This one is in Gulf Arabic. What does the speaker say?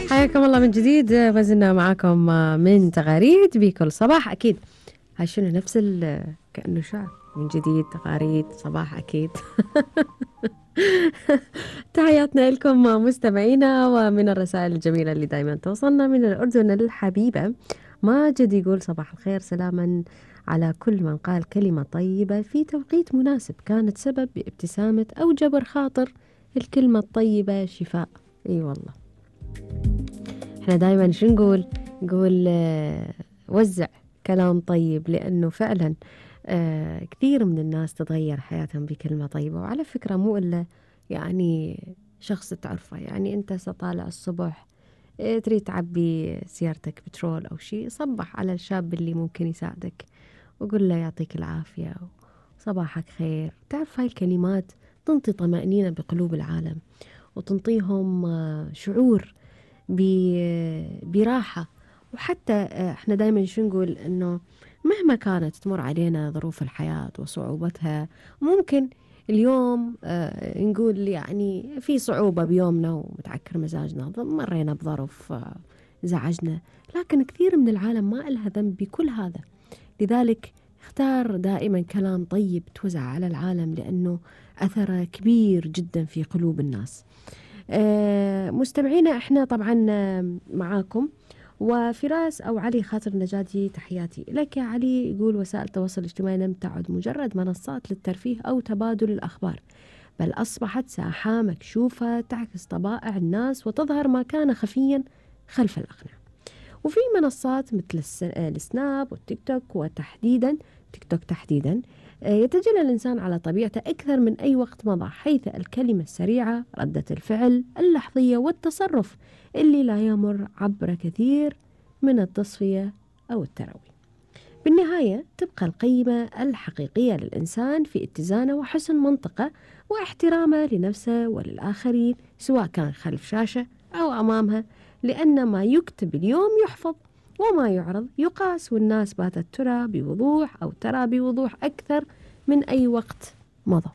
حياكم الله من جديد، ما زلنا معاكم من تغاريد بكل صباح. أكيد هاي شنو نفس كأنه شعر من جديد، تغاريد صباح أكيد. تحياتنا لكم مستمعينا، ومن الرسائل الجميلة اللي دايما توصلنا من الأردن الحبيبة. ماجد يقول صباح الخير، سلاما على كل من قال كلمة طيبة في توقيت مناسب كانت سبب بابتسامة أو جبر خاطر. الكلمة الطيبة شفاء. أي والله، احنا دايما شو نقول وزع كلام طيب، لأنه فعلا كثير من الناس تتغير حياتهم بكلمة طيبة. وعلى فكرة مو إلا يعني شخص تعرفه، يعني أنت سطالع الصبح تريد تعبي سيارتك بترول أو شيء، صبح على الشاب اللي ممكن يساعدك وقول له يعطيك العافية وصباحك خير. تعرف هاي الكلمات تنطي طمأنينة بقلوب العالم، وتنطيهم شعور براحة. وحتى احنا دايما شو نقول، انه مهما كانت تمر علينا ظروف الحياة وصعوبتها، ممكن اليوم نقول يعني في صعوبة بيومنا ومتعكر مزاجنا، مرينا بظرف زعجنا، لكن كثير من العالم ما إلها ذنب بكل هذا. لذلك اختار دائما كلام طيب توزع على العالم، لأنه أثره كبير جدا في قلوب الناس. مستمعينا احنا طبعا معاكم. وفراس أو علي خاطر نجاتي، تحياتي لك يا علي. يقول وسائل التواصل الاجتماعي لم تعد مجرد منصات للترفيه أو تبادل الأخبار، بل أصبحت ساحة مكشوفة تعكس طبائع الناس وتظهر ما كان خفيا خلف الأقنعة. وفي منصات مثل السناب والتيك توك، وتحديدا تيك توك تحديدا يتجلى الإنسان على طبيعته أكثر من أي وقت مضى، حيث الكلمة السريعة، ردة الفعل اللحظية، والتصرف اللي لا يمر عبر كثير من التصفية أو التروي. بالنهاية تبقى القيمة الحقيقية للإنسان في اتزانه وحسن منطقه واحترامه لنفسه وللآخرين، سواء كان خلف شاشة أو أمامها، لأن ما يكتب اليوم يحفظ وما يعرض يقاس. والناس باتت ترى بوضوح أو ترى بوضوح أكثر من أي وقت مضى.